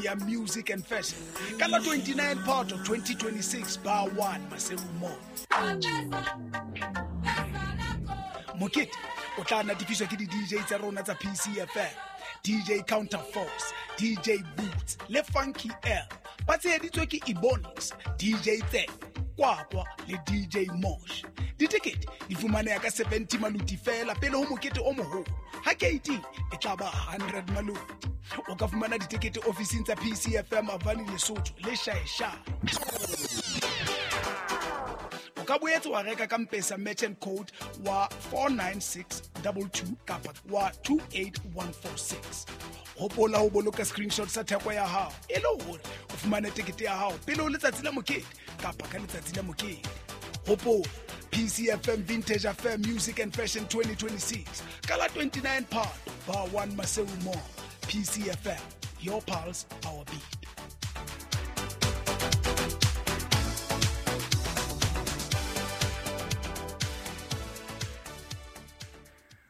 Ya Music and Fashion ka la 29 Phato 2026, Bar 1, Maseru Mall. Mokete o tla natefiswa ke di-DJ tsa rona tsa PCFM, DJ Counter Force, DJ Boots le Funky L, ba tsheheditswe ke Ebonics, DJ Tse Kwakwa le DJ Mosh. Ditekete di fumaneha ka 70 maluti fela pele ho mokete o moholo, ha keiting e tla ba 100 maluti. O ka fumana ditekete ofising tsa PCFM Avani, Lesotho le Shaeshae. O ka boetse wa reka ka Mpesa merchant code wa 49622 kapa wa 28146. Hopola ho boloka screenshot sa theko ya hao e le hore o fumane tekete ya hao pele ho letsatsi la mokete kapa ka letsatsi la mokete. Hopola PCFM Vintage Affair Music and Fashion 2026 ka la 29 Phato, Bar 1, Maseru Mall. PCFM, your pulse, our beat.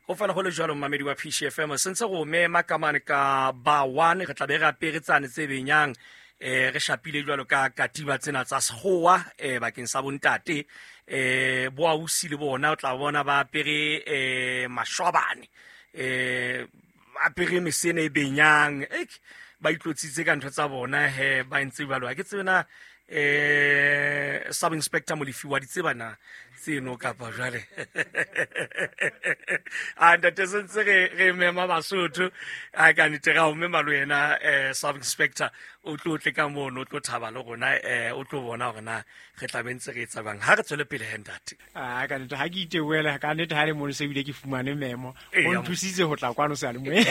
Go fela go le jalo, mmamedi wa PCFM, sentse go mema ka mane ka ba one. Re tla be re apere tsane tse benyang, re shapile jwalo ka katiba tsena tsa sekgowa bakeng sa bontate. Bo ausi le bona o tla bona ba apere mashwabane, ba apere mesene e benyang, ek ba itlotsitse ka ntho tsa bona he, ba entse jwalo. Ha ke tsebe na sub inspector Molefi wa di tseba na tseno kapa jwale a ntate. Sentse re mema Basotho a ka nnete ga o mema le wena, sub inspector, o tlo tle ka mono, o tlo thaba le rona, o tlo bona hore na re tla be ntse re etsa bang ha re tswele pele he, ntate. A ka nnete ha ke iteboela ka nnete ha le mono, se ebile ke fumane memo o nthusitse ho tla kwano seyalemoyeng.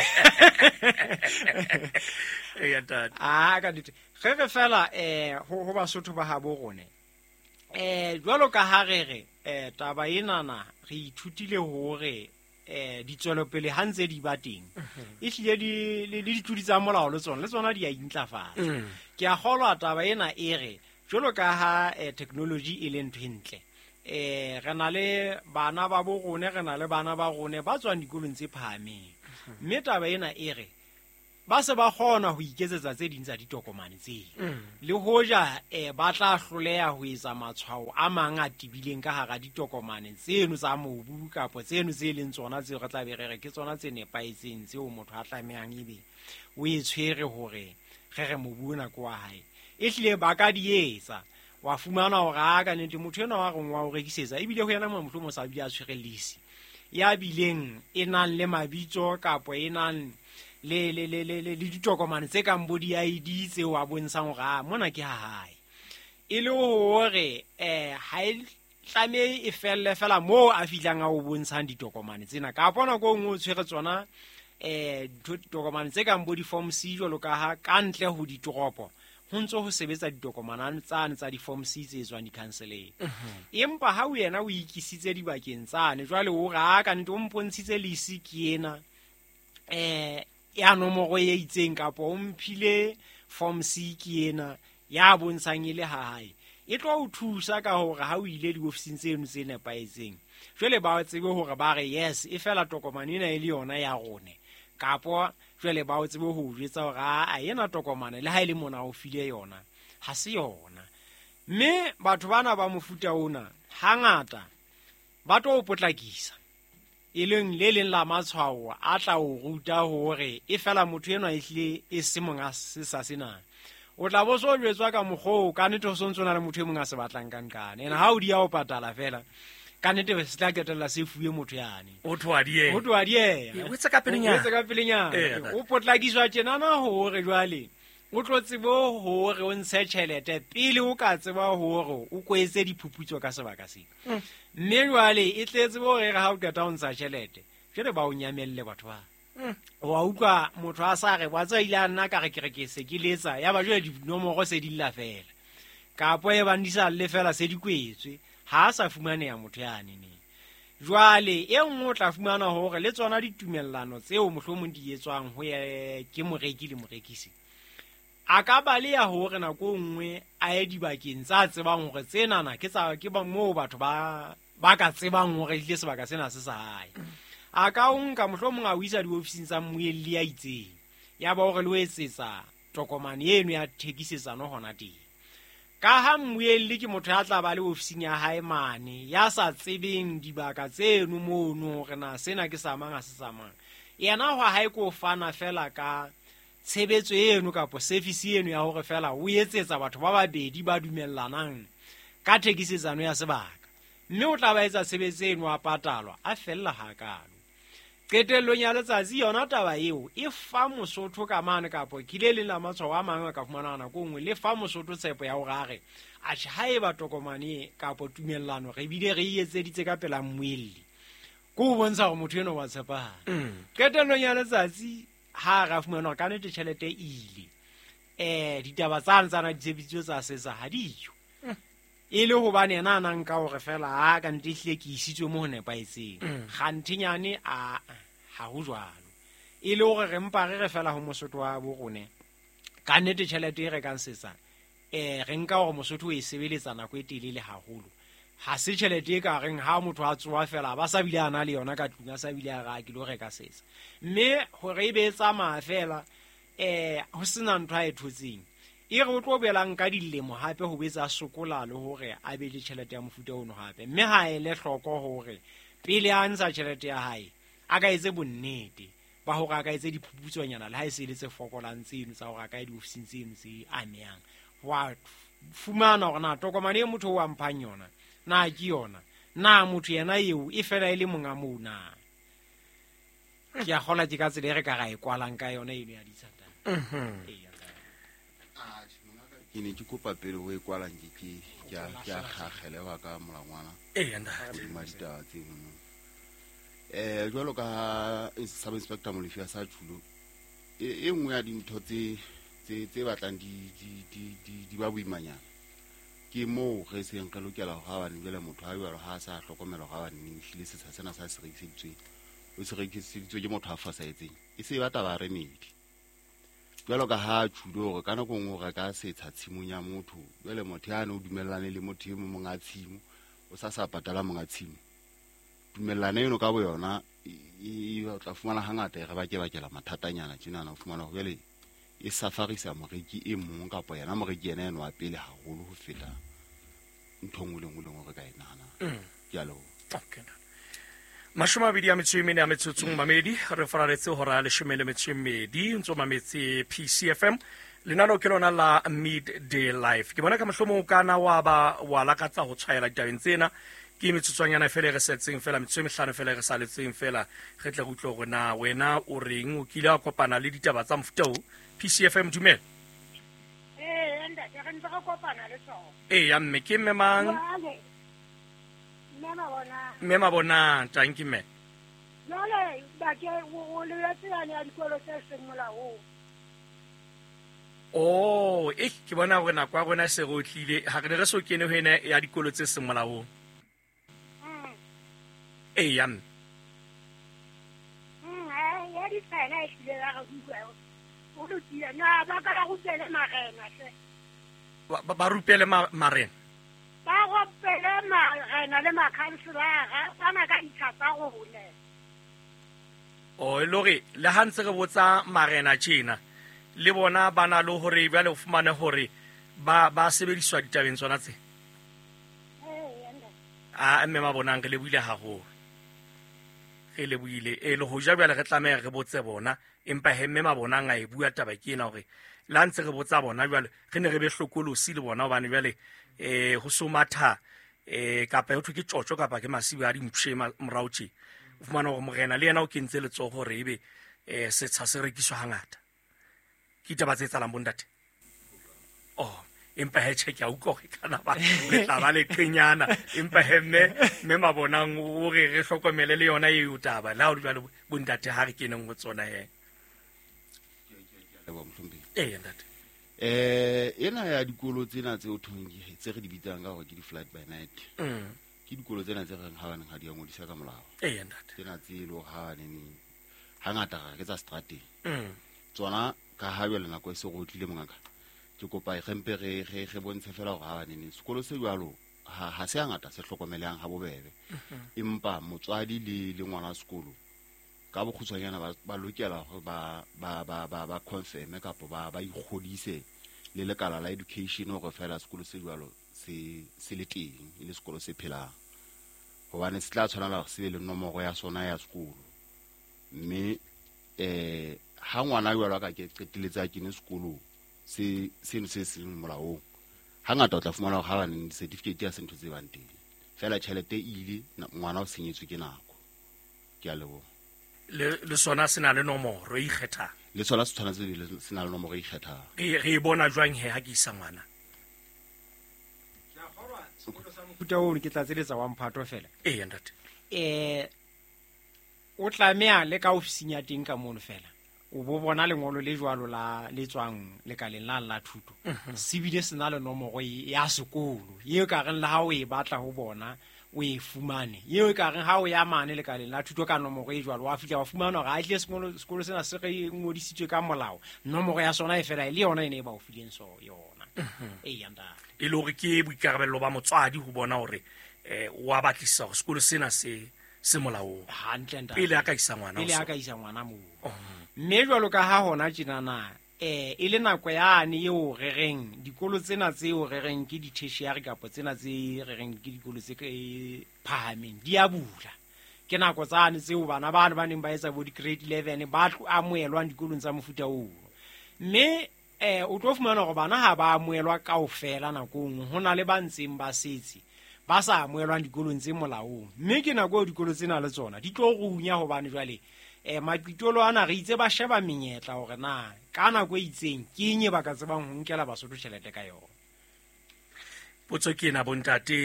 Eya, ntate. A ka nnete ge re fela ho Basotho ba habo rone, jwalo ka ha re re taba enana re ithutile hore ditswelopele ha ntse di ba teng, ehlile le ditlodi tsa molao le tsona di a intlafatsa. Ke a kgolwa taba ena e re jwalo ka ha technology e le ntho e ntle, re na le bana ba bo rone, re na le bana ba rone ba tswang dikolong tse phahameng, mme taba ena e re ba se ba kgona ho iketsetsa tse ding tsa ditokomane tseo, le hoja ba tla hloleha ho etsa matshwao a mang a tebileng ka hara ditokomane tseno tsa mobu kapa tseno tse leng tsona tseo re tla be re re ke tsona tse nepahetseng tseo motho a tlamehang ebe o e tshwere hore re re mobu ona ke wa hae. Ehlile ba ka di etsa, wa fumana hore a ka nnete motho enwa wa reng wa o rekisetsa, ebile ho yena mohlomong sa bile a tshwere lease ya bileng e nang le mabitso kapo e nang le ditokomane tse kang bo di-ID tseo a bontshang hore a mona ke ha hae, e le hore ha e tlamehe e felle fela moo a fihlang a o bontshang ditokomane tsena, kapo nako e nngwe o tshwere tsona ditokomane tse kang bo di-form C, jwalo ka ha ka ntle ho ditoropo ho ntso ho sebetsa ditokomane tsane tsa di-form C tse tswang di-councileng. Empa ha wena o ikisitse dibakeng tsane jwale, o re a ka nnete o mpontshitse lease ke ena ya nomoro e itseng, kapa o mphile form C ke ena ya bontshang e le ha hae, e tlo o thusa ka hore ha o ile diofising tseno tse nepahetseng, jwale ba tsebe hore ba re yes, e fela tokomane ena e le yona ya rone, kapo jwale ba o tsebe ho o jwetsa hore a ena tokomane le ha e le mona o file yona ha se yona. Mme batho bana ba mofuta ona hangata ba tlo o potlakisa, e leng le leng la matshwao a tla o ruta hore e fela motho enwa ehlile e se monga sesa sena. O tla bo so jwetswa ka mokgwa oo, ka nnete ho sontso na le motho e mong a se batlang ka nqane, ene ha o di ya o patala fela, ka nnete se tla qetella se fuwe motho yane. O tloha dieha. Ho tloha dieha. O etse ka pelenyana. O etse ka pelenyana. O potlakiswa tjenana hore jwale o tlo tsebe hore o ntshe tjhelete pele o ka tseba hore o kwetse diphuputso ka sebaka sena. Mme jwale e tletse hore re ha o qeta ho ntsha tjhelete, jwale ba o nyamelle batho ba. Wa utlwa motho a sa re wa tseba, ile a nna ka re ke re ke se ke letsa, ya ba jwale dinomoro se di lla fela, kapo e bang di sa lle fela se di kwetswe, ha a sa fumaneha motho yane neng. Jwale e nngwe o tla fumana hore le tsona ditumellano tseo mohlomong di etswang ho ye ke moreki le morekisi, a ka baleha hore nako e nngwe a ye dibakeng tsa tsebang hore tsenana ke tsa ke ba moo batho ba ka tsebang hore ehlile sebaka sena se sa hae. A ka o nka mohlomong a o isa diofising tsa mmuelli ya itseng, ya ba hore le o etsetsa tokomane eno ya thekisetsano hona teng. Ka ha mmuelli ke motho ya tla ba le ofising ya hae mane, ya sa tsebeng dibaka tseno mono hore na sena ke sa mang ha se sa mang. Yena hwa hae ko fana fela ka tshebetso eno kapa service eno ya hore fela o etsetsa batho ba babedi ba dumellanang ka thekisetsano ya sebaka. Mme o tla ba etsa tshebetso eno a patalwa, a fella hakalo. Qetellong ya letsatsi yona taba eo e fa Mosotho ka mane kapo ke le leng la matshwao a mangwe a ka fumana nako nngwe le fa Mosotho tshepo ya hore a re atjhe haeba tokomane kapo tumellano re bile re e etseditse ka pela mmuelli, ke ho bontsha hore motho eno wa tshepahala. Qetellong ya letsatsi ha re a fumana hore ka nnete tjhelete e ile, ditaba tsane tsana di tshebeditswe tsa setsa ha diyo. E le hobane yena a nang ka hore fela a ka ntle ehlile ke isitswe mo ho nepahetseng. Kganthenyane a ha ho jwalo. E le hore re mpa re re fela ho Mosotho wa bo rone, ka nnete tjhelete e rekang setsa, re nka hore Mosotho o e sebeletsa nako e telele haholo. Ha se tjhelete e ka reng ha motho a tsoha fela ba sa bile a na le yona ka tlung, a sa bile a re a ke lo reka setsa. Mme hore e be e tsamaya fela, ho sena ntho a e thotseng, e re o tlo boelang ka dilemo hape ho betsa sokola le hore a be le tjhelete ya mofuta ono hape. Mme ha ele hloko hore pele a ntsha tjhelete ya hae a ka etse bonnete ba hore a ka etse diphuputsonyana le ha e se le tse fokolang tseno tsa hore a ka ye diofising tseno tse amehang, wa fumana hore na tokomane e motho o a mphang yona na ke yona, na motho yena eo e fela e le monga moo na. Ke a kgolwa ke ka tsela e re ka ra e kwalang ka yona eno ya ditshatana. Ee. Ke ne ke kopa pele ho e kwalang ke a kgakgelewa ka molangwana. Ee, ntate. Hodima ditaba tseno. Jwalo ka ha Sub Inspector Molefi a sa tjhulo, e nngwe ya dintho tse batlang di ba boimanyana ke moo re seng re lokela hore ha bane jwale motho ha jwalo ha a sa hlokomela hore ha bane ehlile setsha sena sa se rekiseditsweng, o se rekiseditswe ke motho a fosahetseng, e se e ba taba ya remedy. Jwalo ka ha tjhulo hore ka nako e nngwe o reka setsha tshimong ya motho, jwale motho yane o dumellane le motho e mong monga tshimo, o sa sa patala monga tshimo. Tumellano eno ka boyona o tla fumana hangata e re bakebakela mathatanyana tjenana, o fumana hore jwale e safarisa moreki e mong kapa yena moreki yena eno wa pele haholo ho feta ntho e nngwe le nngwe le nngwe re ka e nahanang. Ke a leboha. Okay. 24 a metsotsong mamedi, re faraletse hora 12, ntso mametse PCFM. Lenaneo ke lona la Midday Life. Ke bona ka mohlomong o kana wa ba wa lakatsa ho tshwaela ditabeng tsena. Ke metsotswanyana fela e re setseng fela, metsotso e mehlano fela e re saletseng fela, re tle re utlwe hore na wena o reng, o kile wa kopana le ditaba tsa mofuta o. PCFM, dumela. Ee, ntate, re ntse re kopana le tsona. Ee, ya mme, ke mme mang? Jwale, mme Mabonang. Mme Mabonang, tanki mme. Jwale, bake, o lebetse yane ya dikolo tse seng molaong. Oh, ke bona hore nako ya rona e se re otlile. Ha re ne re so kene ho ena ya dikolo tse seng molaong. Ee, ya mme. Ya ditsela e hlile ya re utlwa. O lokile. Na, ba ka ba rupele marena hle. Ba rupele marena? Ba rupele marena le makhanselara, ba na ka ditsha tsa rona. Oh, e le hore le ha ntse re botsa marena tjena, le bona ba na le hore jwale o fumane hore ba sebediswa ditabeng tsona tse. A mme Mabonang, re lebohile haholo. Re lebohile. E le hoja jwale re tlameha re botse bona, empa he mme Mabonang a e bua taba ke ena hore le ha ntse re botsa bona jwale re ne re be hlokolosi le bona, hobane jwale, ho so matha, kapa ho thwe ke tjotjo kapa ke masiba a dimpshe morao tje. O fumana hore morena le yena o kentse letsoho hore ebe, setsha se rekiswa hangata. Ke ditaba tse etsahalang bo ntate? Oh, empa he tjhe, ke a utlwa hore kana ba le tla ba le qenyana, empa he mme Mabonang o re re hlokomele le yona eo taba. Le ha ho le jwalo, bo ntate ha re keneng ho tsona he. Leboha, mohlomphehi. Ee, ntate. Ena ya dikolo tsena tse o thweng ke, tse re di bitsang ka hore ke di-flight by night. Ke dikolo tsena tse reng ha baneng ha di a ngodisa ka molao. Ee, ntate. Tsena tse e le hore ha baneng hangata re ke tsa seterateng. Tsona ka ha jwale nako e se re otlile mongaka, ke kopa re mpe re bontshe fela hore ha baneng sekolo se jwalo ha se hangata se hlokomelehang ha bobebe. Empa motswadi le ngwana wa sekolo Ka bokgutshwanyana ba lokela hore ba confirm kapa ba ikgodise le lekala la education hore fela sekolo se jwalo se le teng, e le sekolo se phelang. Hobane se tla tshwanela hore se be le nomoro ya sona ya sekolo. Mme ha ngwana jwalo a ka ke qetelletse a kene sekolong se seno se seng molaong, hangata o tla fumana hore ha ba neng certificate ya se ntho tse bang teng. Fela tjhelete e ile, ngwana o senyetswe ke nako. Ke a leboha. Le sona se na le nomoro e ikgethang. Le sona se tshwanetse se na le nomoro e ikgethang. Re e bona jwang he ha ke isa ngwana? Ke a kgolwa sekolo sa mofuta ono ke tlatseletsa wa mphato fela. Ee, ntate. O tlameha le ka ofising ya teng ka mono fela. O bo bona lengolo le jwalo la le tswang lekaleng la thuto. Se bile se na le nomoro ya sekolo. Eo ka reng le ha o e batla ho bona, o e fumane. Eo ka reng ha o ya mane lekaleng la thuto ka nomoro e jwalo, wa fihla wa fumana hore a tle sekolo sena se re ngodisitswe ka molao. Nomoro ya sona e fela e le yona e ne e ba o fileng so yona. Ee, ntate. E le hore ke boikarabello ba motswadi ho bona hore wa batlisisa hore sekolo sena se molaong. Hantle, ntate. Pele a ka isa ngwana Pele ho a ka sona. isa ngwana moo. Mme jwalo ka ha hona tjenana, e le nako yane eo re reng dikolo tsena tseo re reng ke di-tertiary kapa tsena tse re reng ke dikolo tse phahameng di a bula. Ke nako tsane tseo bana bano ba neng ba etsa bo di-grade 11 ba tlo amohelwang dikolong tsa mofuta oo. Mme o tlo fumana hore bana ha ba amohelwa kaofela nakong, ho na le ba ntseng ba setse ba sa amohelwang dikolong tse molaong. Mme ke nako eo dikolo tsena le tsona di tlo runya hobane jwale maqitolo ana re itse ba sheba menyetla hore na ka nako e itseng ke eng e ba ka tsebang ho nkela Basotho tjhelete ka yona. Potso ke ena bontate,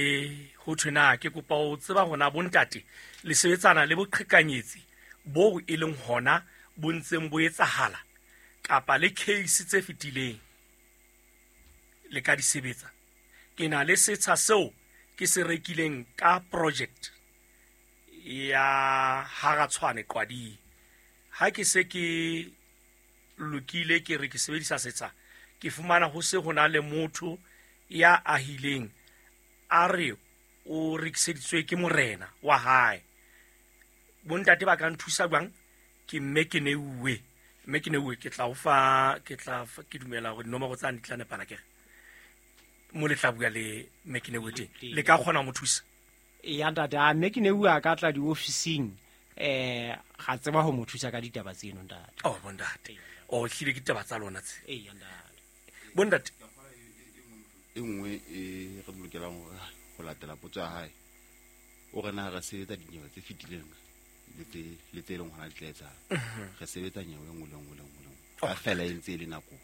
ho thwe na ke kopa ho tseba hore na bontate le sebetsana le boqhekanyetsi boo e leng hona bo ntseng bo etsahala kapa le case tse fetileng le ka di sebetsa. Ke na le setsha seo ke se rekileng ka project ya Haratshwane Qwading. Ha ke se ke lokile ke re ke sebedisa setsha, ke fumana ho se ho na le motho ya ahileng a re o rekiseditswe ke morena wa hae. Bontate ba ka nthusa jwang? Ke mme ke neuwe. Mme ke neuwe, ke tla o fa, ke tla fa, ke dumela hore dinomoro tsane di tla nepana kere. Mo le tla bua le mme ke neuwe teng. Le ka kgona ho mo thusa? Eya, ntate, a mme ke neuwe a ka tla diofising, ga tseba ho mo thusa ka ditaba tseno, ntate. Oh, bontate. Oh, ehlile ke ditaba tsa lona tse. Eya, ntate. Bontate. E nngwe e re lokelang hore ho latela potso ya hae, o re na re sebetsa dinyewe tse fetileng le tse leng hona di tla etsahala. Re sebetsa nyewe e nngwe le nngwe le nngwe le nngwe. Ka fela e ntse e le nako.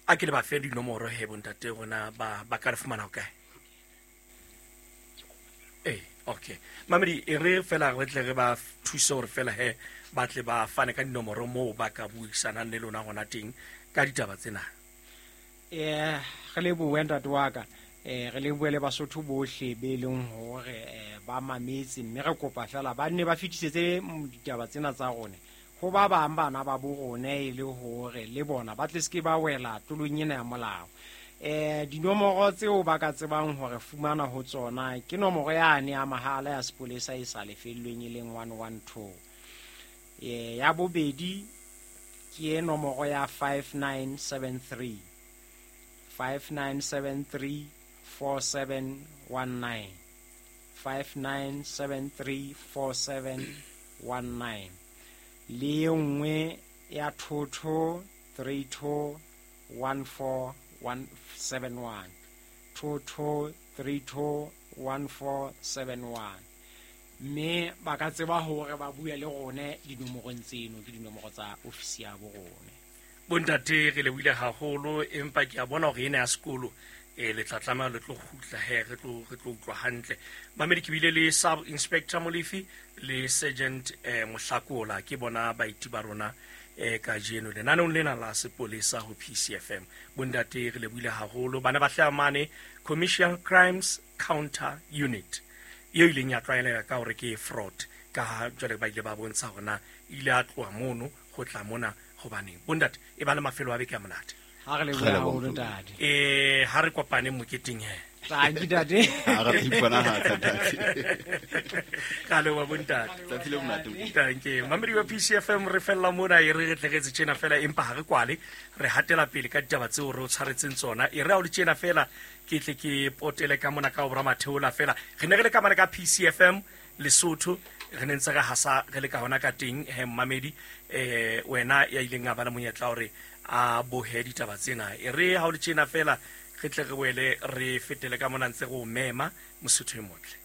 A ke le ba fe dinomoro he bontate rona ba ka re fumana ho kae? Okay. Mamedi, e re fela re tle re ba thuse hore fela he ba tle ba fane ka dinomoro moo ba ka buisanang le lona hona teng ka ditaba tsena. Re lebohe ntate wa ka. Re lebohe le Basotho bohle be leng hore ba mametse, mme re kopa fela ba nne ba fetisetse ditaba tsena tsa rona ho ba bang bana ba bo rona e le hore le bona ba tle se ke ba wela tulong ena ya molao. Dinomoro tseo ba ka tsebang hore fumana ho tsona ke nomoro yane ya mahala ya sepolesa e sa lefellweng e leng 112. Ya bobedi ke nomoro ya 5973. 5973 4719. 5973 4719. Le e nngwe ya 22 32 14 171. 22 32 1471. Mme ba ka tseba hore ba bue le rone dinomorong tseno, ke dinomoro tsa ofisi ya bo rone. Bontate, re lebohile haholo, empa ke a bona hore ena ya sekolo le tla tlameha le tlo kgutla he, re tlo utlwa hantle. Mamedi, ke bile le Sub Inspector Molefi le Sergeant Mohlakola, ke bona baeti ba rona kajeno lenaneong lena la sepolesa ho PCFM. Bontate, re lebohile haholo. Bana ba hlaha mane Commercial Crimes Counter Unit eo ileng ya tlwaeleha ka hore ke fraud, ka ha jwale ba ile ba bontsha hore na ile a tloha mono ho tla mona hobaneng. Bontate, e ba le mafelo a beke a monate. Ha re lebohe haholo, ntate. Ha re kopane moketeng he. Tanki tate. Ha re tla iponahatsa ntate. Ka leboha bontate. Tsatsi le monate. Tanke mamedi wa PCFM, re fella mona, e re re tle re etse tjena fela, empa ha re kwale, re hatela pele ka ditaba tseo re o tshwaretseng tsona. E re ha o le tjena fela, ke tle ke potele ka mona ka ho Matheola fela. Re ne re le ka mane ka PCFM Lesotho, re ne ntse re hasa re le ka hona ka teng. He mmamedi, wena ya ileng a ba le monyetla hore a bohe ditaba tsena, e re ha o le tjena fela, re tle re boele re fetele ka mona ntse re o mema, Mosotho e motle.